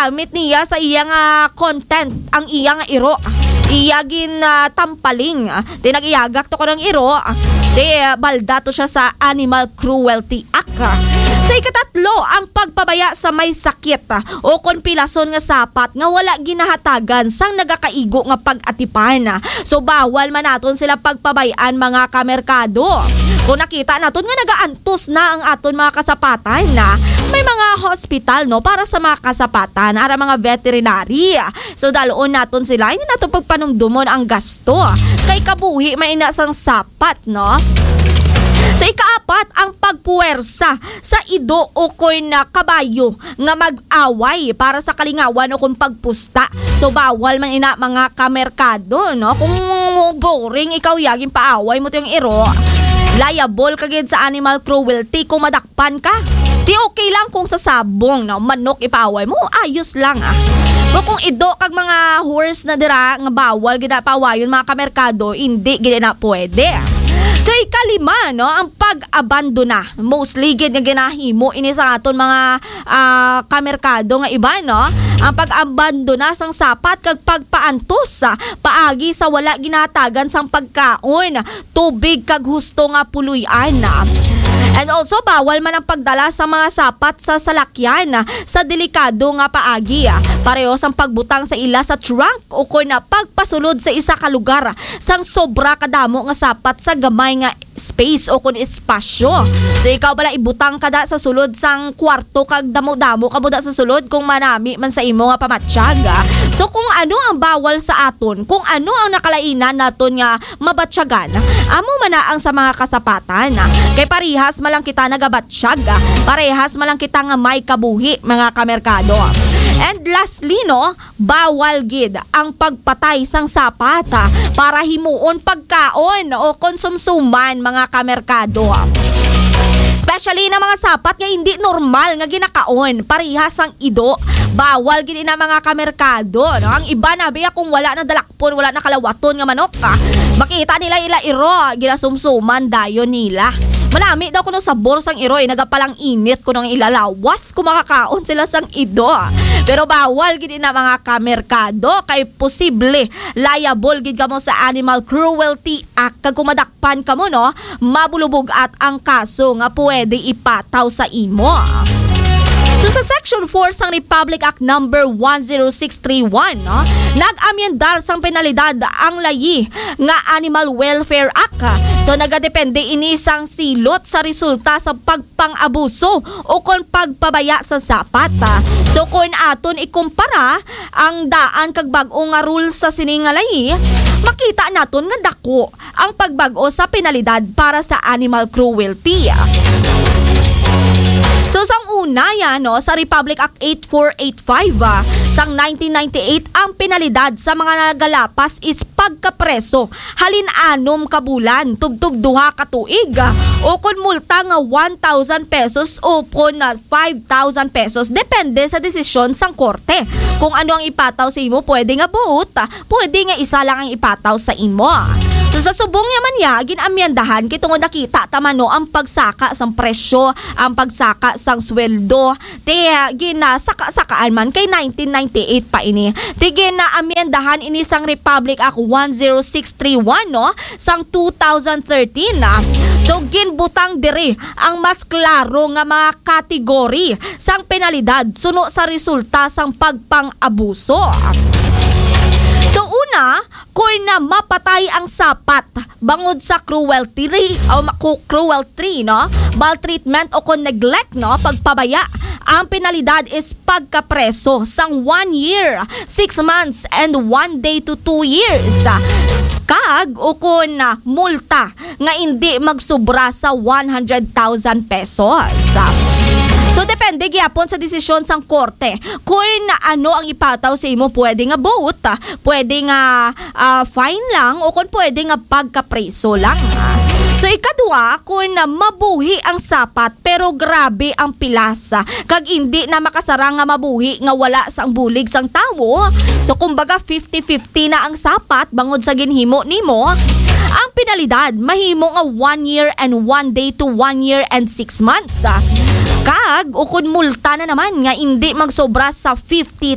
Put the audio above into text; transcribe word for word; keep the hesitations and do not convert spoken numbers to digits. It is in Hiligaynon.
gingamit niya sa iya nga content ang iya nga iro. Iya gin, ah, tampaling. Di nag-iyagak to ko ng iro. Di, ah, balda to siya sa Animal Cruelty Act. Sa ikatatlo, ang pagpabaya sa may sakit, ah, o kon pilason nga sapat nga wala ginahatagan sang nagakaigo nga pag-atipan. So, bawal man naton sila pagpabayan, mga kamerkado. Kung nakita naton nga nagaantos na ang aton mga kasapatan, na may mga hospital, no, para sa mga kasapatan, ara mga veterinary. So, dalon naton sila, hindi nato pagpanumdumon ang gasto. Kay kabuhi man ina sang sapat, no? So, ikaapat, ang pagpuwersa sa ido o kon na kabayo nga mag-away para sa kalingawan o kon pagpusta. So, bawal man ina, mga kamerkado, no? Kung boring ikaw, yagin paaway mo tong iro, liable ka gid sa animal cruelty kung madakpan ka. Di okay lang kung sa sabong, no? Manok ipaaway mo, ayos lang, ah. Pero kung ido kag mga horse na dira nga bawal gid na paawayon, mga kamerkado, hindi gid na pwede. So, ikalima, no, ang pag-abandona. Mostly gid nga ginahimo ini sa aton mga, ah, kamerkado nga iba, no? Ang pag-abandona sang sapat kag pagpaantos, ah, paagi sa wala ginahatagan sang pagkaon, tubig kag husto nga puloy-an. And also, bawal man ang pagdala sa mga sapat sa salakyan sa delikado nga paagi, pareho sang pagbutang sa ila sa trunk o kon pagpasulod sa isa ka lugar sang sobra kadamo nga sapat sa gamay nga space o kon espasyo. So, ikaw bala, ibutang ka da sa sulod sang kwarto kag damo-damo ka mo da sa sulod kung manami man sa imo nga pamatyag. So, kung ano ang bawal sa aton, kung ano ang nakalainan naton nga mabatyagan, amo man na ang sa mga kasapatan. Kay parehas man lang kita nagabatyag, parehas man lang kita nga may kabuhi, mga kamerkado. And lastly, no, bawal gid ang pagpatay sang sapat, ah, para himuon pagkaon o konsumsuman, mga kamerkado. Especially na mga sapat nga hindi normal nga ginakaon, parehas sang ido. Bawal gid ina, mga kamerkado, no? Ang iba na, biya, kung wala na dalakpon, wala na kalawaton nga manok, ah, makita nila ila iro, ginasumsuman dayon nila. Manami daw kuno sabor sang iro, eh, nagapalang init kuno ang ila lawas kung makakaon sila sang ido. Pero bawal gid ina, mga kamerkado, kay posible liable gid kamo sa Animal Cruelty Act. Kag kung madakpan kamo, no, mabulubog-at ang kaso nga pwede ipataw sa imo. So, sa Section four sang Republic Act Number one zero six three one, no, nag-amyendar sang penalidad ang layi nga Animal Welfare Act. So, nagadepende ini sang silot sa resulta sa pagpang-abuso o kon pagpabaya sa sapat. So, kon aton ikumpara ang daan kag bag-o nga rule sa sini nga layi, makita naton nga dako ang pagbag-o sa penalidad para sa animal cruelty. So, sang una, yan, no, sa Republic Act eight four eight five, ah, sang nineteen ninety-eight, ang penalidad sa mga nagalapas is pagkapreso halin anom ka bulan tubtob duha ka tuig, ah, o kon multa nga one thousand pesos o kon, ah, five thousand pesos, depende sa desisyon sang korte. Kung ano ang ipataw sa imo, pwede nga buot, ah, pwede nga isa lang ang ipataw sa imo. So, sa subong niya man niya, gin-amyendahan kay tungod nakita ta man, no, ang pagsaka sang presyo, ang pagsaka sang sweldo, ti, ah, ginasaka-sakaan man kay nineteen ninety-eight pa ini. Ti gin-amyendahan ini sang Republic Act one zero six three one, no, sang two thousand thirteen, ah. So, ginbutang diri ang mas klaro nga mga kategory sang penalidad suno sa resulta sang pagpang-abuso. So, una, kon na mapatay ang sapat bangod sa cruelty, o ma-, cu-, cruelty, no? Maltreatment o kon neglect, no? Pagpabaya, ang penalidad is pagkapreso sang one year, six months, and one day to two years. Kag, o kon, ah, multa nga indi magsubra sa one hundred thousand pesos. So, depende gyapon sa desisyon sang korte kung ano ang ipataw sa imo. Pwede nga both, pwede nga, ah, fine lang, o kung pwede nga pagkapreso lang. So, ikadua, kung mabuhi ang sapat pero grabe ang pilas, kag indi na makasarang nga mabuhi nga wala sang bulig sang tawo. So, kumbaga, fifty fifty na ang sapat bangod sa ginhimo nimo. Ang penalidad mahimo nga one year and one day to one year and six months. Kag, ukon multa na naman nga indi magsobra sa fifty